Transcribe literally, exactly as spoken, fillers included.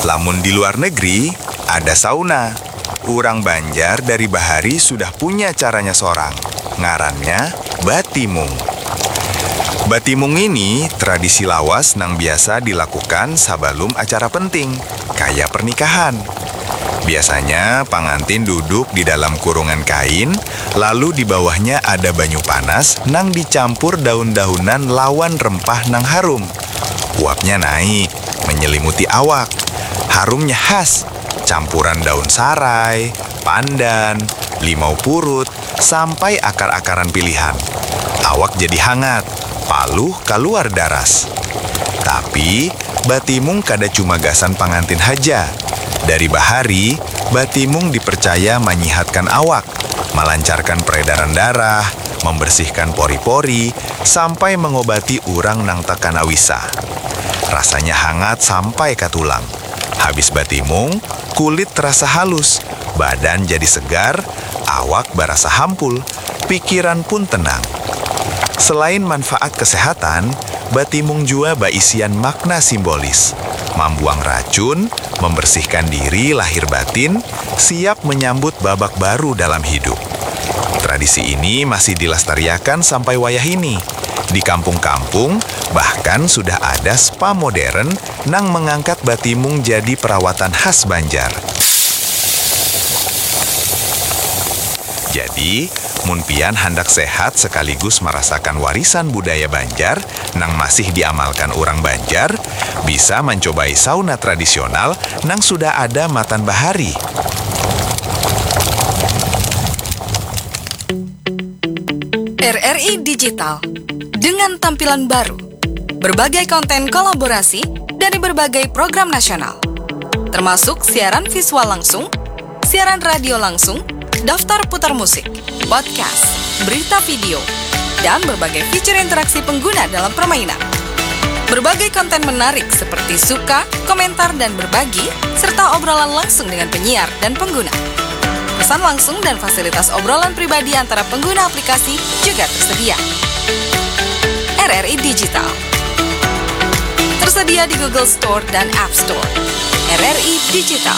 Lamun di luar negeri, ada sauna. Urang Banjar dari bahari sudah punya caranya sorang. Ngarannya batimung. Batimung ini tradisi lawas nang biasa dilakukan sabalum acara penting, kaya pernikahan. Biasanya pangantin duduk di dalam kurungan kain, lalu di bawahnya ada banyu panas nang dicampur daun-daunan lawan rempah nang harum. Uapnya naik, menyelimuti awak. Harumnya khas, campuran daun sarai, pandan, limau purut, sampai akar-akaran pilihan. Awak jadi hangat, paluh kaluar daras. Tapi, batimung kada cuma gasan pangantin haja. Dari bahari, batimung dipercaya manyihatkan awak, malancarkan peredaran darah, membersihkan pori-pori, sampai mengobati urang nang takana wisa. Rasanya hangat sampai ka tulang. Habis batimung, kulit terasa halus, badan jadi segar, awak barasa hampul, pikiran pun tenang. Selain manfaat kesehatan, batimung jua baisian makna simbolis, mambuang racun, membersihkan diri lahir batin, siap menyambut babak baru dalam hidup. Tradisi ini masih dilestariakan sampai wayah ini. Di kampung-kampung, bahkan sudah ada spa modern nang mengangkat batimung jadi perawatan khas Banjar. Jadi, mun pian handak sehat sekaligus merasakan warisan budaya Banjar nang masih diamalkan urang Banjar, bisa mancobai sauna tradisional nang sudah ada matan bahari. R R I Digital dengan tampilan baru, berbagai konten kolaborasi dari berbagai program nasional, termasuk siaran visual langsung, siaran radio langsung, daftar putar musik, podcast, berita video, dan berbagai fitur interaksi pengguna dalam permainan. Berbagai konten menarik seperti suka, komentar, dan berbagi, serta obrolan langsung dengan penyiar dan pengguna. Pesan langsung dan fasilitas obrolan pribadi antara pengguna aplikasi juga tersedia. R R I Digital tersedia di Google Store dan App Store. R R I Digital.